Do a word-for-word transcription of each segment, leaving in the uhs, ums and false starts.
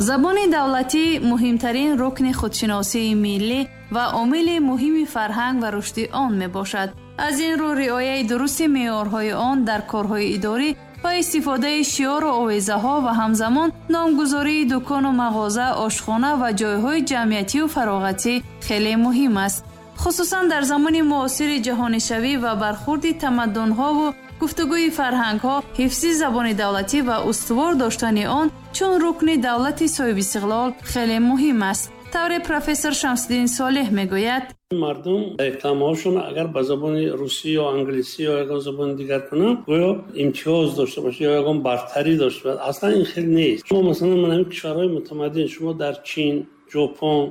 Забони давлатӣ муҳимтарин рукни худшиносии миллӣ ва омили муҳими фарҳанг ва рушди он мебошад. Аз ин рӯ риояи дурусти меъёрҳои он дар корҳои идорӣ ва истифодаи шиору овезаҳо ва ҳамзамон номгузории дукону мағоза, ошхона ва ҷойҳои ҷамъиятию фароғатӣ хеле муҳим аст. Хусусан дар замони муосири ҷаҳонишавӣ ва бархурди тамаддунҳову гуфтугӯи фарҳангҳо, ҳифзи забони давлатӣ ва устувор доштани он чун рукни давлати соҳибистиқлол хеле муҳим аст. Тавре профессор Шамсиддин Солеҳ мегӯяд: мардум рекламаҳошон агар ба забони русӣ ё англисӣ ё ягон забони дигар кунанд, гӯё имтиёз дошта бошад ё ягон бартарӣ дошта бошад. Аслан ин хел нест. Шумо масалан ман ҳамин кишварҳои мутамаддин, шумо дар Чин, Ҷопон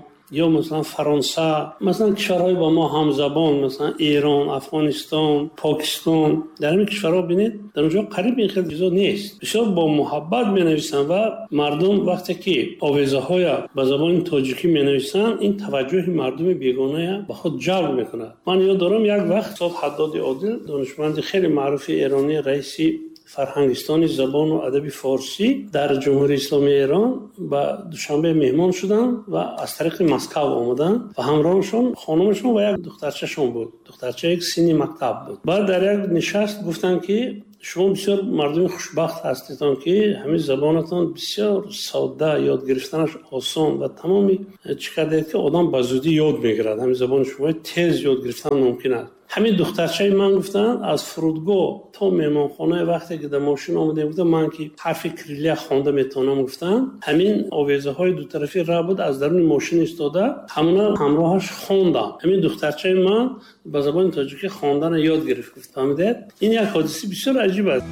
ё масалан Фаронса, масалан кишварҳои ба мо ҳамзабон, масалан Эрон, Афғонистон, Покистон, дар ҳамин кишварҳо бинед, дар онҷо қариб ин хел чизо нест. Бисёр бо муҳаббат менависанд ва мардум вақте ки овезаҳоя ба забони тоҷикӣ менависанд, ин таваҷҷӯҳи мардуми бегоная ба худ ҷалб мекунад. Ман ёд дорам, як вақт устод Ҳаддоди Одил, донишманди хеле маъруфи эронӣ, раиси фарҳангистони забону адаби форсӣ дар Ҷумҳурии Исломии Эрон, ба Душанбе меҳмон шуданд ва аз тариқи Москав омаданд ва ҳамроҳашон хонумашон ва як духтарчашон буд. Духтарча як синни мактаб буд. Баъд дар як нишаст гуфтанд, ки шумо бисёр мардуми хушбахт ҳастедон, ки ҳамин забонатон бисёр содда, ёд гирифтанаш осон ва тамоми чӣ кардед, ки одам ба зудӣ ёд мегирад. Ҳамин забони шумо тез ёд гирифтан мумкин аст. Ҳамин духтарчаи ман, гуфтанд, аз фурудгоҳ то меҳмонхонаи вақте ки дар мошин омадем, гуфтам, ман ки ҳарфи кириллия хонда метавонам, гуфтам, ҳамин овезаҳои дутарафи раҳ буд, аз даруни мошин истода ҳамона ҳамроҳаш хондам. Ҳамин духтарчаи ман ба забони тоҷикӣ хондана ёд гирифт, гуфт. Фаҳмидед? Ин як ҳодисаи бисёр аҷиб аст.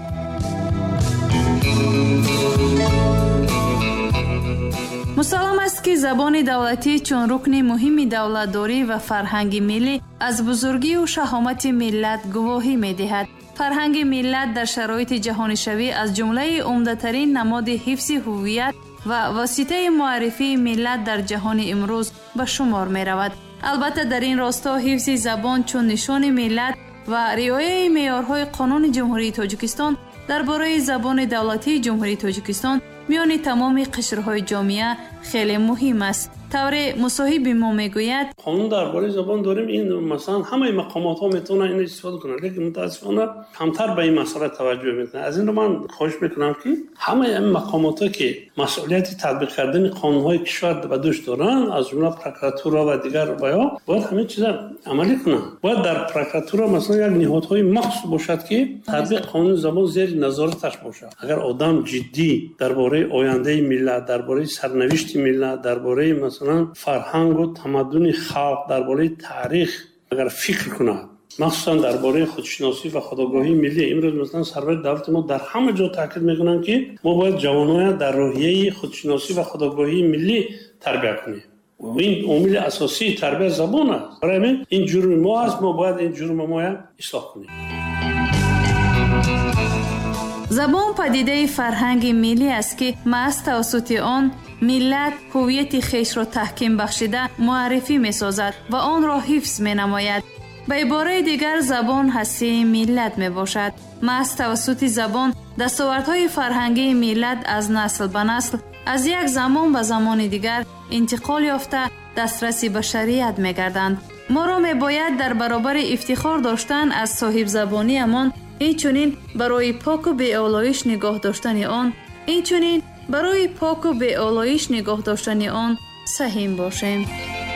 Мусаллам аст, ки забони давлатӣ чун рукни муҳими давлатдорӣ ва фарҳанги миллӣ аз бузургию шаҳомати миллат гувоҳӣ медиҳад. Фарҳанги миллат дар шароити ҷаҳонишавӣ аз ҷумлаи умдатарин намоди ҳифзи ҳуввият ва воситаи муаррифии миллат дар ҷаҳони имрӯз ба шумор меравад. Албатта, дар ин росто ҳифзи забон чун нишони миллат ва риояи меъёрҳои Қонуни Ҷумҳурии Тоҷикистон дар бораи забони давлатии Ҷумҳурии Тоҷикистон миёни тамоми қишрҳои ҷомеа хеле муҳим аст. Тавре мусоҳиби мо мегӯяд: қонун дар бораи забон дорем, ин масалан ҳамаи мақомотҳо метавонанд инро истифода кунанд, лекин мутаассифона камтар ба ин масъала таваҷҷӯҳ мекунанд. Аз ин рӯ ман хоҳиш мекунам, ки ҳамаи ҳамин мақомотҳо, ки масъулияти татбиқ кардани қонунҳои кишвар ба дӯш доранд, аз ҷумла прокуратура ва дигар ваё, бояд ҳамин чиза амалӣ кунанд. Бояд дар прокуратура масалан як ниҳодҳои махсус бошад, ки татбиқ қонуни забон зери назораташ бошад. Агар одам ҷиддӣ дар бораи ояндаи миллат, дар бораи сарнавишти миллат, дар бораи масалан фарҳангу тамаддуни халқ, дар бораи таърих агар фикр кунад, махсусан дар бораи худшиносӣ ва худогоҳии миллӣ, имрӯз масалан сарвари давлати мо дар ҳама ҷо таъкид мекунанд, ки мо бояд ҷавоноя дар рӯҳияи худшиносӣ ва худогоҳии миллӣ тарбия кунем. Ин омили асосии тарбия забон аст. Барои ҳамин ин ҷурми мо аст, мо бояд ин ҷурми моя ислоҳ кунем. Забон падидаи фарҳанги миллӣ аст, ки маҳз тавассути он миллат ҳуввияти хешро таҳким бахшида муаррифӣ месозад ва онро ҳифз менамояд. Ба ибораи дигар, забон ҳастии миллат мебошад. Маҳз тавассути забон дастовардҳои фарҳангии миллат аз насл ба насл, аз як замон ба замони дигар интиқол ёфта дастраси башарият мегарданд. Моро мебояд дар баробари ифтихор доштан аз соҳибзабониамон, инчунин барои поку беолоиш нигоҳ доштани он, инчунин барои поку беолоиш нигоҳ доштани он саҳим бошем.